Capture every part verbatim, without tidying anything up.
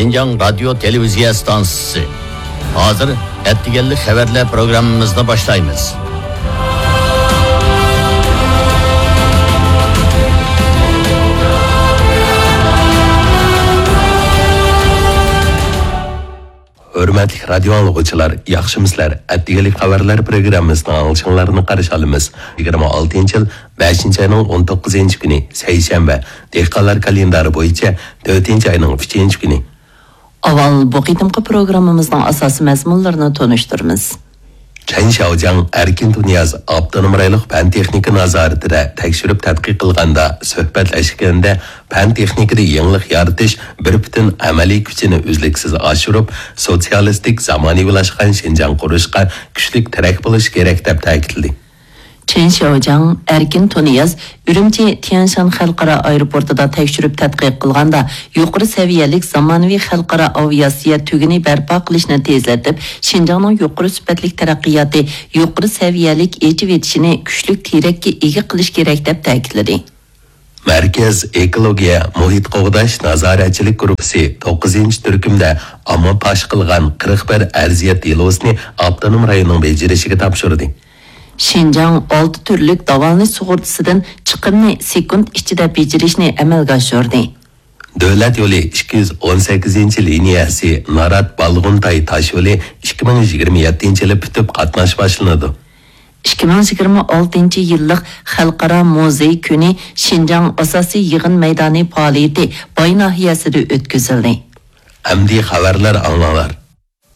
شىنجاڭ رادىيو تېلېۋىزىيە ئىستانسىسى. ھازىر ئەتىگەنلىك خەۋەرلەر پروگراممىمىزنى باشلايمىز. ھۆرمەتلىك رادىيو ئاڭلىغۇچىلار، ياخشىمۇسىلەر؟ ئەتىگەنلىك خەۋەرلەر پروگراممىسىنىڭ ئاڭلىشىڭلارنى قارشى ئالىمىز. يىگىرمە ئالتىنچى يىل بەشىنچى ئاينىڭ ئون توققۇزىنچى كۈنى، سەيشەنبە، دېھقانلار كالېندارى بويىچە تۆتىنچى ئاينىڭ ئۈچىنچى كۈنى. ئاۋۋال بۇ قېتىمقى پروگراممىمىزنىڭ ئاساسىي مەزمۇنلىرىنى تونۇشتۇرىمىز. چەن شياۋجياڭ ئەركىن تۇنىياز ئاپتونوم رايونلۇق پەن تېخنىكا نازارىتىدە تەكشۈرۈپ تەتقىق قىلغاندا، سۆھبەتلەشكەندە پەن تېخنىكىدا يېڭىلىق يارىتىش بىر پۈتۈن ئەمەلىي كۈچىنى ئۈزلۈكسىز ئاشۇرۇپ، سوتسىيالىستىك زامانىۋىلاشقان شىنجاڭ قۇرۇشقا كۈچلۈك تىرەك بولۇش كېرەك، دەپ تەكىتلىدى. چېن شياۋجياڭ، ئەركىن تۇنىياز ئۈرۈمچى تيەنشان خەلقئارا ئايروپورتىدا تەكشۈرۈپ تەتقىق قىلغاندا، يۇقىرى سەۋىيەلىك زامانىۋى خەلقئارا ئاۋىئاتسىيە تۈگۈنى بەرپا قىلىشنى تېزلىتىپ، شىنجاڭنىڭ يۇقىرى سۈپەتلىك تەرەققىياتى، يۇقىرى سەۋىيەلىك ئېچىۋېتىشىنى كۈچلۈك تىرەككە ئىگە قىلىش كېرەك، دەپ تەكىتلىدى. مەركەز ئېكولوگىيە، مۇھىت قوغداش نازارەتچىلىك گۇرۇپپىسى توققۇزىنچى تۈركۈمدە ئامما پاش قىلغان قىرىق بىر ئەرزىيەت دېلوسىنى ئاپتونوم رايوننىڭ بېجىرىشىگە تاپشۇردى. شىنجاڭ ئالتە تۈرلۈك داۋالىنىش سۇغۇرتىسىدىن چىقىمنى سېكۇنت ئىچىدە بېجىرىشنى ئەمەلگە ئاشۇردى. دۆلەت يولى ئىككى يۈز ئون سەككىزىنچى لىنىيەسى نارات بالغۇنتاي تاش يولى ئىككى مىڭ يىگىرمە يەتتىنچى يىلى پۈتۈپ، قاتناش باشلىنىدۇ. ئىككى مىڭ يىگىرمە ئالتىنچى يىللىق خەلقئارا مۇزېي كۈنى شىنجاڭ ئاساسىي يىغىن مەيدانى پائالىيىتى باي ناھىيەسىدە ئۆتكۈزۈلدى. ئەمدى خەۋەرلەر ئاڭلاڭلار.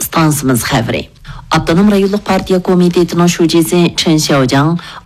ئىستانسىمىز خەۋىرى. ئاپتونوم رايونلۇق پارتىيە كومىتېتىنىڭ شۇجىسى چېن شياۋجياڭ